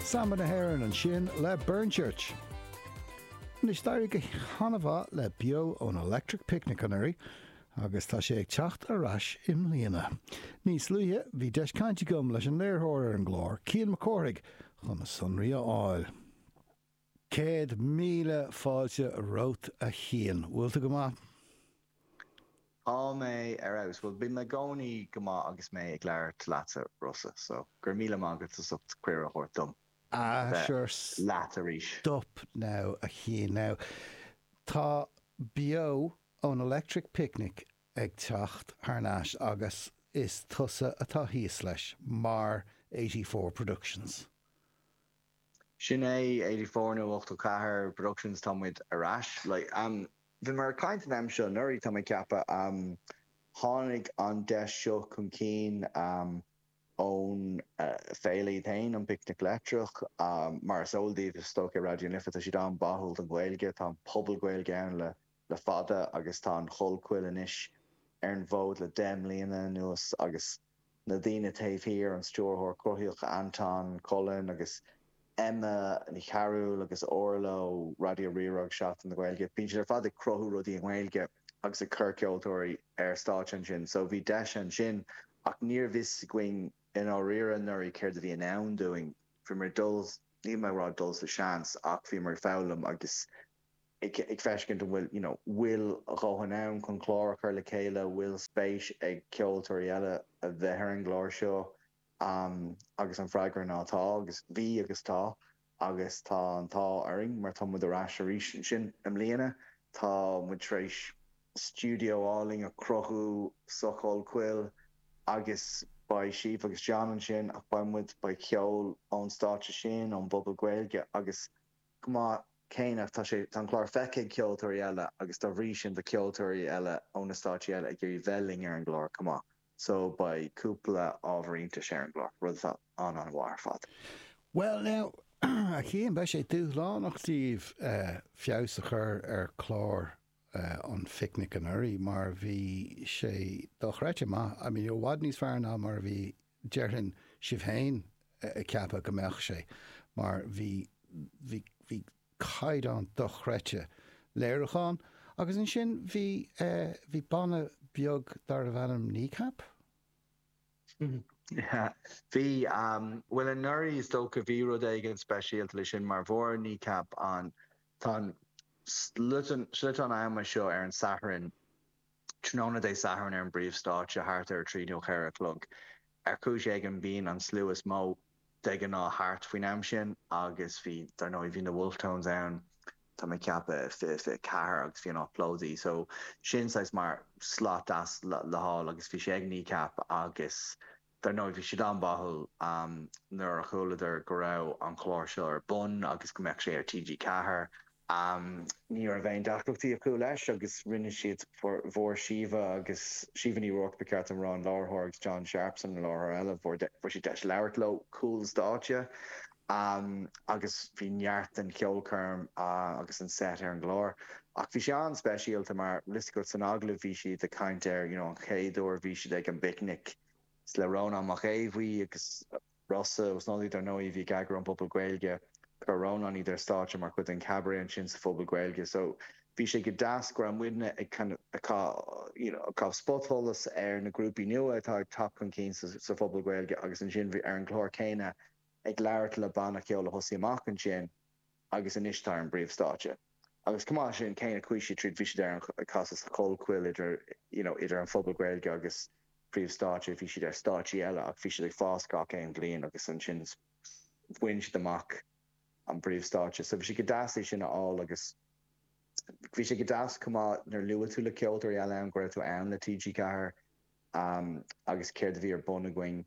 Samba na hÉireann ansin le Burnchurch. Anois d'éirigh go han-mhaith le Beo ón Electric Picnic anuraidh agus tá sé ag teacht ar ais i mbliana. Níos luaithe bhí deis cainte agam leis an léiritheoir ar an gclár, Cian Mac Cárthaigh, chun na sonraí a fháil. 100,000 fáilte romhat a Chian. Bhfuil tú go maith? Tá mé ar fheabhas. Bhuel, bím i gcónaí go maith agus mé ag labhairt leatsa, Rossa, so go raibh míle maith agat as ucht cuireadh a thabhairt dom Ah, bheith sure, leat arís. Stop now, a Chian. Now, tá Beo ón Electric Picnic ag teacht thar n-ais agus is tusa atá thíos leis, mar 84 Productions. Sin é, 84 nó 84 Productions, tá muid ar ais. Like, bhíomar ag caint an am seo anuraidh, tá mé ag ceapadh. Tháinig an deis seo chun cinn ón féile iad féin, an Picnic Leictreach. Mar is eol daoibh, is dócha, Raidió na Life, tá siad an-bháúil don Ghaeilge, tá an Puball Gaeilge ann le le fada agus tá an Chollchoill anois ar an bhfód le 10 mbliana anuas agus na daoine taobh thiar, an stiúrthóir cruthaitheach Anton Cullen agus Emma Ní Chearúil agus Orla ó Raidió Rí-Rá agus Seachtain na Gaeilge, bíonn siad ar fad ag cruthú rudaí i nGaeilge agus ag cur ceoltóirí ar stáitse ansin. So bhí deis ansin ach níorbh fhios againn i ndáiríre anuraidh céard a bhí i ndán dúinn. Bhíomar ag dul, níl mé ag rá dul sa seans ach bhíomar ag foghlaim agus ag feiscint an bhfuil, you know, bhfuil a dhóthain ann chun clár a chur le chéile, bhfuil spéis ag ceoltóirí eile a bheith ar an gclár seo agus an freagra ná tá agus bhí agus tá agus tá an t-ádh orainn mar tá muid ar ais arís ansin i mbliana. Tá muid tar éis stiúideo álainn a chruthú sa Chollchoill agus beidh Síomha agus John ansin ach beidh muid, beidh ceol ón stáitse sin, ón bPuball Gaeilge agus chomh maith céanna, tá sé, tá an clár feicthe ag ceoltóirí eile agus dá bhrí sin tá ceoltóirí eile ó na stáitsí eile ag iarraidh bheith linn ar an gclár chomh maith. So beidh cúpla ábhar iontais ar an gclár, rud atá an-an-mhaith ar fad. Bhuel now, a Chian, beidh sé dúshlánach daoibh feabhas a chur ar chlár an Phicnic anuraidh mar bhí sé dochreidte maith, I mean i bhfad níos fearr ná mar a bhí, déarfainn, sibh féin ag ceapadh go mbeadh sé mar bhí, bhí, bhí caighdeán dochreidte léiriúcháin agus ansin bhí, bhí banna beag darbh ainm Kneecap? Yeah, bhí, bhuel anuraidh is dócha bhí rud éigin speisialta le sin mar bhfuair Kneecap an, tá an sliotán ama seo ar an Satharn, tráthnóna Dé Sathairn ar an bpríomhstáitse thart ar a trí nó a 4 a chlog. Ar chúis éigin bíonn an slua is mó de ghnáth thart faoin am sin agus bhí, dar ndóigh, bhí na Wolfe Tones ann, tá mé ag ceapadh, 2024 agus bhí an áit plódaithe. So sin saghas mar slot deas le fáil agus bhí sé ag Kneecap agus dar ndóigh bhí siad an-bháúil nuair a chualadar go raibh an clár seo ar bun agus go mbeadh sé ar TG4. Ní raibh aon deacrachtaí acu leis agus rinne siad, fuair Síomha agus, Síomha Ní Ruairc ba cheart dom a rá, an láithreoir agus John Sharpson an láithreoir eile, fuair siad deis labhairt leo cúl stáitse agus bhí neart den cheolchoirm agus an set ar an gclár. Ach bhí sé an-speisialta mar, bhfuil fhios agat, san agallamh bhí siad ag caint ar, you know, an chéad uair a bhí siad ag an bPicnic le Rónán Mac Aodha Bhuí agus Rossa Ó Snodaigh, dar ndóigh, a bhí ag eagrú an Phuball Gaeilge. Chuir Rónán iad ar stáitse mar chuid den chabaret ansin sa Phuball Gaeilge. So bhí sé go deas go raibh muidne ag kind of ag you know ag caitheamh spotsholas ar na grúpaí nua atá ag teacht chun cinn sa sa Phuball Gaeilge agus ansin bhí ar an gclár céanna ag labhairt le banna ceoil a thosaigh amach ansin agus anois tá ar an bpríomhstáitse. Agus chomh maith leis sin, cé na chuaigh siad tríd, bhí siad ar an, ag casadh sa Chollchoill idir, you know, idir an Phuball Gaeilge agus príomhstáitse, bhí siad ar stáitsí eile ach bhí siad ag fás gach aon bhliain agus ansin bhain siad amach an príomhstáitse. So bhí sé go deas é sin a fháil agus bhí sé go deas chomh maith nuair luaigh tú le ceoltóirí eile ann go raibh tú ann le TG4 agus céard a bhí ar bun againn.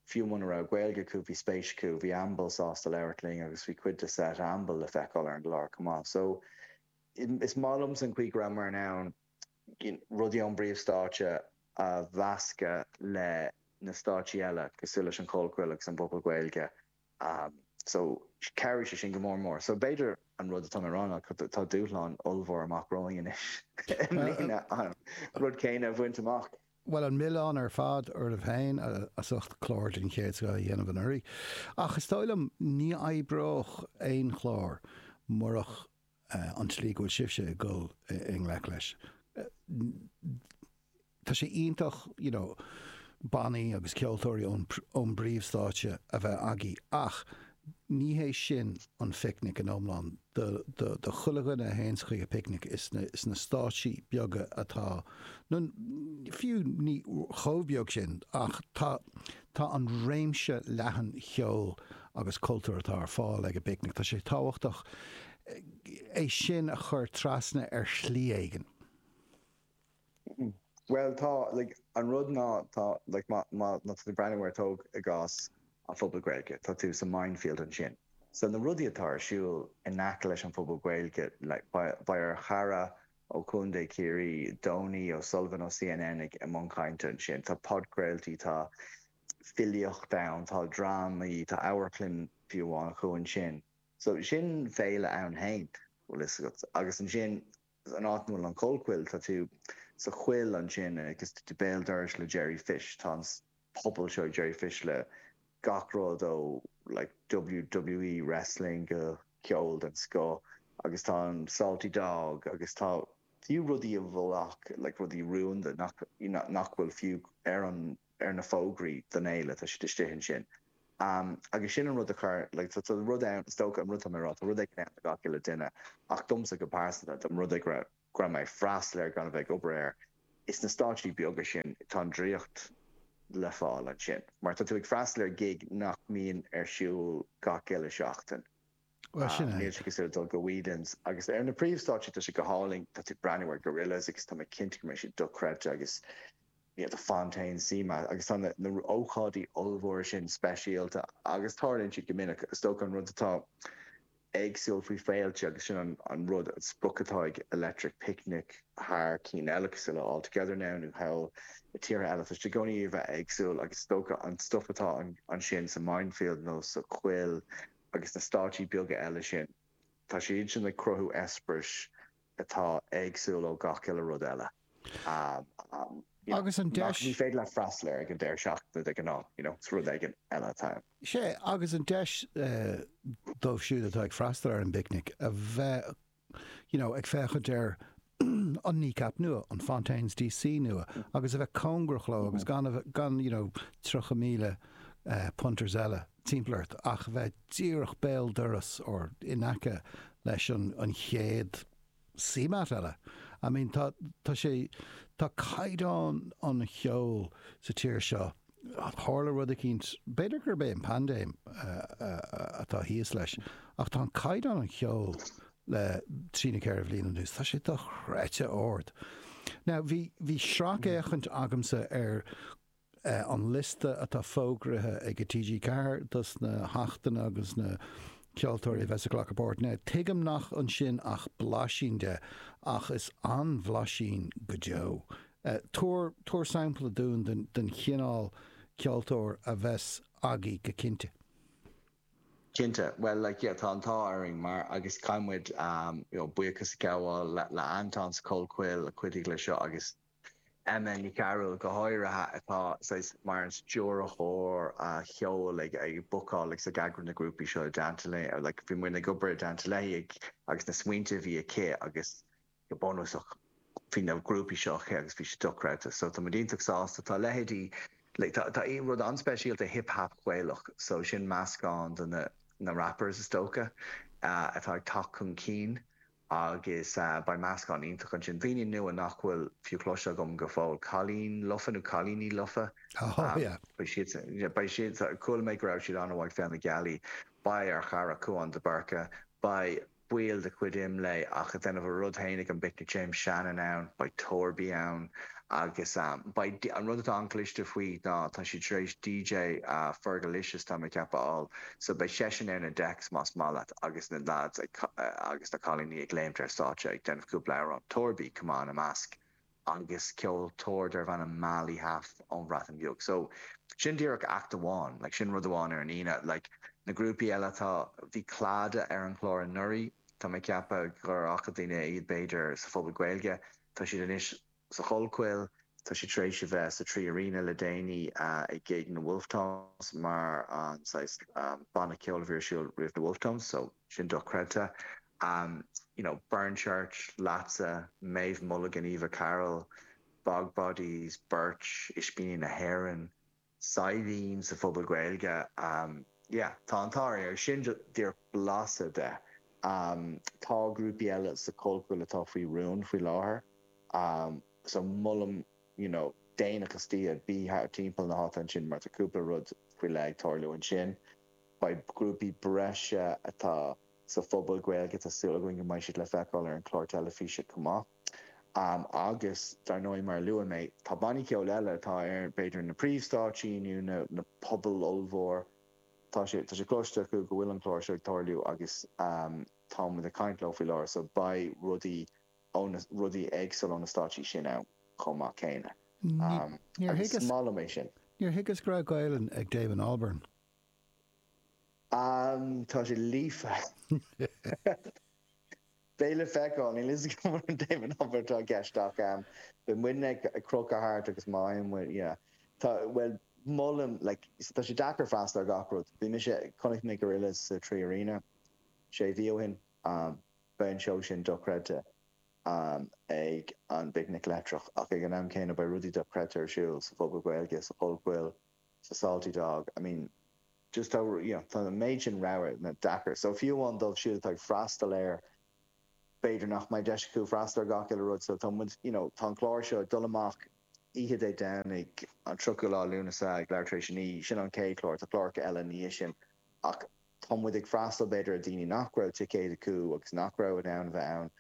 Fiú muna raibh Gaeilge acu, bhí spéis acu, bhí Amble sásta labhairt linn agus bhí cuid de set Amble le feiceáil ar an gclár chomh maith. So, is maith liomsa an chaoi go rabhamar in ann rudaí ón bpríomhstáitse a mheascadh le na stáitsí eile, cosúil leis an Chollchoill agus an bPuball Gaeilge. So, chabhraigh sé sin go mór mór. So, b'fhéidir an rud atá mé a rá ná tá dúshlán ollmhór amach romhainn anois i mbliana an rud céanna a bhaint amach. Bhuel, an milleán ar fad oraibh féin as ucht clár den chéad scoth a dhéanamh anuraidh. Ach is dóigh liom, ní oibreodh aon chlár murach an tslí go bhfuil sibhse ag dul i ngleic leis. Tá sé iontach, you know, bannaí agus ceoltóirí ón ón bpríomhstáitse a bheith agaibh ach ní hé sin an phicnic in iomlán. Do do chuile dhuine a théanns chuig an bpicnic is sna stáitsí beaga atá, nó fiú ní chomh beag sin ach tá tá an réimse leathan cheoil agus cultúir atá ar fáil ag an bpicnic, tá sé tábhachtach é sin a chur trasna ar shlí éigin. Bhuel tá, like, an rud ná tá, like, má, má, má tá tú ag breathnú ar tóg i gcás an Phuball Gaeilge, tá tú sa Mindfield ansin. So na rudaí atá ar siúl in aice leis an Phuball Gaeilge, like, beidh, beidh ár chara ó Chontae Chiarraí, Donie O'Sullivan ó CNN ag, i mbun cainte ansin. Tá podchraoltaí, tá filíocht ann, tá drámaí, tá amharclann fiú amháin acu ansin. So sin féile ann féin, bhfuil fhios agat. Agus ansin An áit ina bhfuil an Chollchoill, tá tú sa choill ansin agus tá tú béal dorais le Jerry Fish. Tá an puball seo ag Jerry Fish le gach rud ó like WWE wrestling go ceol den scoth agus tá an Salty Dog agus tá fiú rudaí a bhfuil ach like rudaí rúnda nach nach bhfuil fiú ar an ar na fógraí don fhéile, tá siad istigh ansin. Agus sin an rud a chuir, like, tá rud ann, is dócha, an rud atá mé a rá, tá rud éigin ann do gach uile duine, ach domsa go pearsanta, dá mba rud é go raibh, go raibh mé ag freastal air gan a bheith ag obair air, is sna stáitsí beaga sin, tá an draíocht le fáil ansin. Mar tá tú ag freastal ar gig nach mbíonn ar siúl gach uile seachtain. Bhuel, sin é. Níl sé cosúil le dul go Whelan's. Agus ar na príomhstáitsí, tá sé go hálainn, tá tú ag breathnú ar Gorillaz agus tá mé cinnte go mbeidh siad dochreidte agus you know, the Fontaines, CMAT agus tá na, na ócáidí ollmhóra sin speisialta agus tarlaíonn siad go minic. Is dócha an rud atá éagsúil faoi féilte agus sin an, an rud, an sprioc atá ag Electric Picnic thar cinn eile cosúil le All Together Now nó thall i tíortha eile, tá siad i gcónaí a bheith éagsúil agus is dócha an stuff atá ansin sa Mindfield nó sa Choill agus na stáitsí beaga eile sin, tá siad sin ag cruthú eispéiris atá éagsúil ó gach uile rud eile. Agus an deis. Ní féidir leat freastal air ag an deireadh seachtaine de ghnáth, you know, is rud éigin eile atá ann. Sea, agus an deis dóibh siúd atá ag freastal ar an bpicnic a bheith you know, ag féachaint ar an Kneecap nua, an Fontaines DC nua, agus a bheith cóngarach leo agus gan a bheith, gan, you know, 30,000 punters eile timpeall ort, ach a bheith díreach béal dorais or in aice leis an, an chéad CMAT eile. I mean, tá, tá sé, tá caighdeán an cheoil sa tír seo, Tharla rud eicínt, b'fhéidir gurb é an paindéim atá thíos leis, ach tá an caighdeán an cheoil le trí nó ceithre bhliain anuas, tá sé dochreidte ard. Now, bhí, bhí sracfhéachaint agamsa ar an liosta atá fógraithe ag TG4 dos na hachtanna agus na ceoltóirí a bheas ag glacadh páirt. Now, tuigim nach ansin ach blaisín de, ach is an-bhlaisín go deo. Tabhair, tabhair sampla dúinn den, den chineál ceoltóir a bheas agaibh go cinnte. Cinnte. Bhuel, like, yeah, tá an t-ádh orainn mar, agus caithfidh muid, you know, buíochas a ghabháil le, le Anton sa Chollchoill a chuidigh le seo agus Emma Ní Chearúil go háirithe atá saghas mar an stiúrthóir cheoil ag, ag bookáil agus ag eagrú na grúpaí seo i dteannta léi, like, bhí muid ag obair i dteannta léi ag, agus na smaointe a bhí aici agus go bunúsach bhí na grúpaí seo aici agus bhí siad dochreidte. So tá muid iontach sásta. Tá leithéidí like tá tá rud an-speisialta hip hap Gaelach so sin meascán de na na rappers is dócha atá ag teacht chun cinn agus beidh meascán iontach ansin. Daoine nua nach bhfuil fiú cloiste agam go fóill. Cailín Lofa nó Cailíní Lofa. Oh yeah. Beidh siad beidh siad chuala mé go raibh siad an-mhaith ag Féile na Gealaí. Beidh ár chara Cúán de Búrca. Beidh baill de chuid IMLÉ ach ag déanamh a rud féin ag an bPicnic James Shannon ann, beidh Torby ann agus beidh, an rud atá an-chliste faoi ná tá siad tar éis DJ Fergalicious tá mé ag ceapadh a fháil so beidh seisean ar na decks más maith leat agus na lads ag agus na cailíní ag léimt ar stáitse ag déanamh cúpla amhrán, Torby chomh maith ina measc. agus ceoltóir darbh ainm Mali Hâf ón Bhreatain Bheag. So, sin díreach act amháin, like sin rud amháin ar an Aoine. Like, na grúpaí eile atá, bhí Clada ar an chlár anuraidh, tá mé ag ceapadh gur fhaca daoine iad b'fhéidir sa Phuball Gaeilge, tá siad anois sa Chollchoill. Tá sé tar éis a bheith sa 3Arena le déanaí ag gig na Wolfe Tones mar an saghas banna ceoil a bhí ar siúl roimh na Wolfe Tones, so sin dochreidte. You know, Burn Church, leatsa, Maeve Mulligan, Eva Carroll, Bog Bodies, Birch, Ispíní na hÉireann, Saidhbhín sa Phuball Gaeilge, yeah, tá an t-ádh orainn agus sin díreach blaiseadh de. Tá grúpaí eile sa Chollchoill atá faoi rún faoi láthair so molaim you know déanach istoíche bí thart timpeall na háite ansin mar tá cúpla rud faoi leith ag tarlú ansin. Beidh grúpaí breise atá sa Phuball Gaeilge tá súil againn go mbeidh siad le feiceáil ar an chlár teilifíse chomh maith. Agus, dar ndóigh, mar a luaigh mé, tá bannaí ceoil eile atá ar, b'fhéidir, na príomhstáitsí nó na na pubaill ollmhór. Tá sé tá sé cloiste acu go bhfuil an clár seo ag tarlú agus tá muid ag caint leo faoi láthair so beidh rudaí ó na rudaí éagsúla ó na stáitsí sin ann chomh maith céanna. Níor Agus is thuigeas maith liom é sin. Níor thuigeas go raibh Gaelainn ag Damon Albarn. Tá sé líofa. Beidh le feiceáil, níl a fhios agam an Damon Albarn atá i gceist ach beidh muidne ag crochadh thart agus má fhaigheann muid, yeah. Tá, bhuel, molaim, like, tá sé deacair freastal ar gach rud. Bhí mise, chonaic mé Gorillaz sa 3Arena sé mhí ó shin, beidh an seó sin dochreidte ag an bPicnic Leictreach ach ag an am céanna beidh rudaí dochreidte ar siúl sa Phuball Gaeilge, sa Chollchoill, sa Salty Dog, I mean, just tá, you know, tá an méid sin rogha deacair. So fiú amháin dóibh siúd atá ag freastal air, b'fhéidir nach mbeidh deis acu freastal ar gach uile rud. So tá muid, you know, tá an clár seo ag dul amach oíche Dé Domhnaigh, an 30ú lá Lúnasa ag leathuair tar éis a 9, sin an chéad chlár, tá cláracha eile ina dhiaidh sin ach tá muid ag freastal b'fhéidir ar daoine nach raibh ticéid acu agus nach raibh in ann a bheith ann.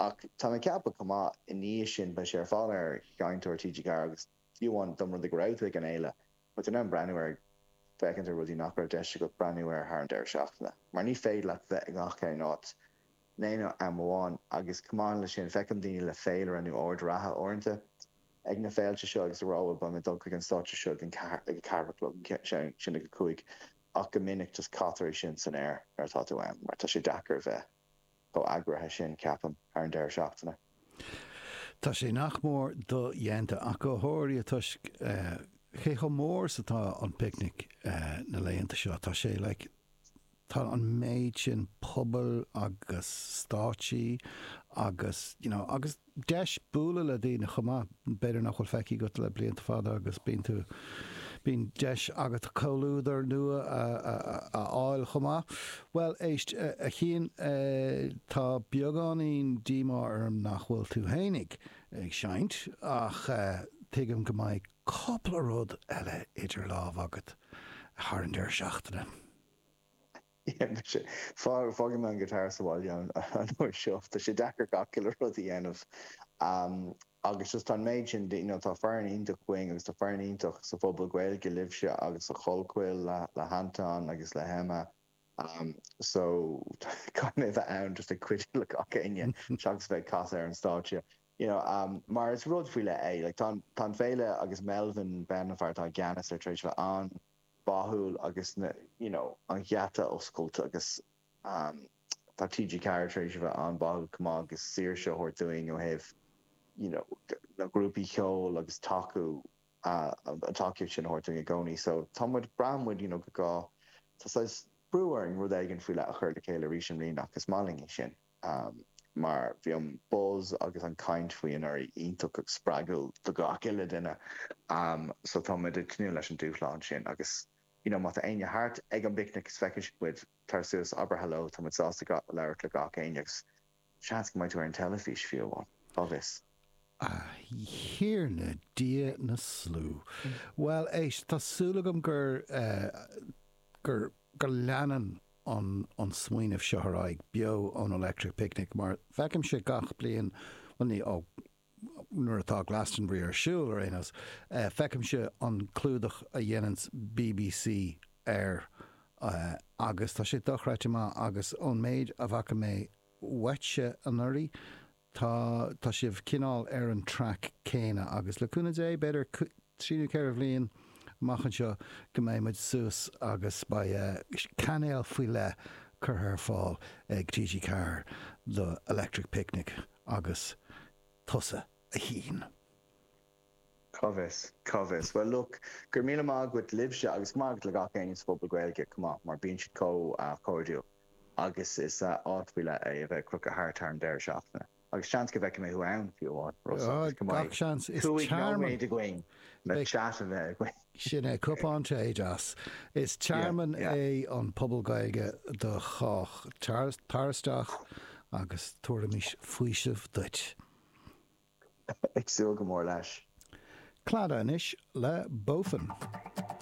Ach tá mé ag ceapadh chomh maith i ndiaidh sin beidh sé ar fáil ar Sheinnteoir TG4 agus fiú amháin dá mba rud é go raibh tú ag an fhéile, beidh tú in ann breathnú air, féachaint ar rudaí nach raibh deis agat breathnú air thar an deireadh seachtaine, mar ní féidir leat bheith i ngach aon áit in aon am amháin. Agus chomh maith leis sin, feicim daoine le féilire nó ord reatha uaireanta ag na féilte seo agus ag rá bhuel beidh mé ag dul chuig an stáitse seo ag an ag a ceathair a chlog, sin ag a cúig, ach go minic just caitear é sin san aer nuair atá tú ann mar tá sé deacair a bheith chomh eagraithe sin, ceapaim, thar an deireadh seachtaine. Tá sé nach mór dodhéanta, ach go háirithe toisc cé chomh mór is atá an Picnic na laethanta seo. Tá sé like, tá an méid sin pobail agus stáitsí agus, you know, agus deis bualadh le daoine chomh maith, b'fhéidir nach bhfuil feicthe agat le blianta fada agus bíonn tú, bíonn deis agat comhluadar nua a fháil chomh maith. Bhuel, éist, a Chian, tá beagáinín díomá orm nach bhfuil tú fhéinig ag seinnt ach tuigim go mbeidh cúpla rud eile idir lámha agat thar an deireadh seachtaine. Yeah, mise. Fágfaidh mé an guitar sa bhaile an uair seo. Tá sé deacair gach uile rud a dhéanamh. Agus just tá an méid sin, you know, tá foireann iontach againn agus tá foireann iontach sa Phuball Gaeilge libhse agus sa Chollchoill le le hAnton agus le hEmma. So caithfidh mé a bheith ann just ag cuidiú le gach éinne seachas bheith ag casadh ar an stáitse. You know, mar is rud faoi leith é. Like tá tá an féile agus Melvin Ben an fear atá i gceannas air tar éis bheith an báúil agus na you know an geata oscailt agus tá TG4 tar éis a bheith an-báúil chomh maith agus saoirse a thabhairt dúinn ó thaobh you know na grúpaí cheoil agus tacú an tacaíocht sin a thabhairt dúinn i gcónaí so tá muid braitheann muid you know go gá tá saghas brú orainn rud éigin faoi leith a chur le chéile arís i mbliana ach is maith linn é sin. mar bhí an buzz agus an caint faoi anuraidh iontach agus spreagúil do gach uile duine. So tá muid ag tnúth leis an dúshlán sin agus you know má tá éinne thart ag an bPicnic is feiceann sibh muid, tar suas, abair hello, tá muid sásta labhairt le gach éinne agus seans go mbeidh tú ar an teilifís fiú amháin, cá bhfios. A Thiarna Dia na Slua. Bhuel, éist, tá súil agam gur, gur, go leanann an an smaoineamh seo ar aghaidh beo ón Electric Picnic mar feicimse gach bliain, bhuel ní, ó, nuair atá Glastonbury ar siúl ar aon nós, feicimse an clúdach a dhéananns BBC air agus tá sé dochreidte maith agus ón méid a bhfaca mé uaitse anuraidh, Tá, tá sibh cineál ar an traic céanna agus le cúnamh Dé, b'fhéidir trí nó ceithre bhliain amach anseo go mbeidh muid suas agus beidh cainéal faoi leith curtha ar fáil ag TG4 do Electric Picnic agus tusa a Chian. Cá bhfios? Cá bhfios? Bhuel, look, go raibh míle maith agat libhse agus go maith agat le gach éinne sa phobal Gaeilge chomh maith, mar bíonn siad chomh cairdiúil agus is áit faoi leith é a bheith ag crochadh thart thar an deireadh seachtaine. Agus seans go bhfeicfidh mé thú ann, fiú amháin, Rossa, agus go mbeidh 5 nóiméad againn le chat a bheith againn. Sin é, cupán tae deas. Is tearmann é an Puball Gaeilge do chách. Tar isteach agus tabharfaimis faoiseamh duit. Ag súil go mór leis. Claddagh anois le Boffin.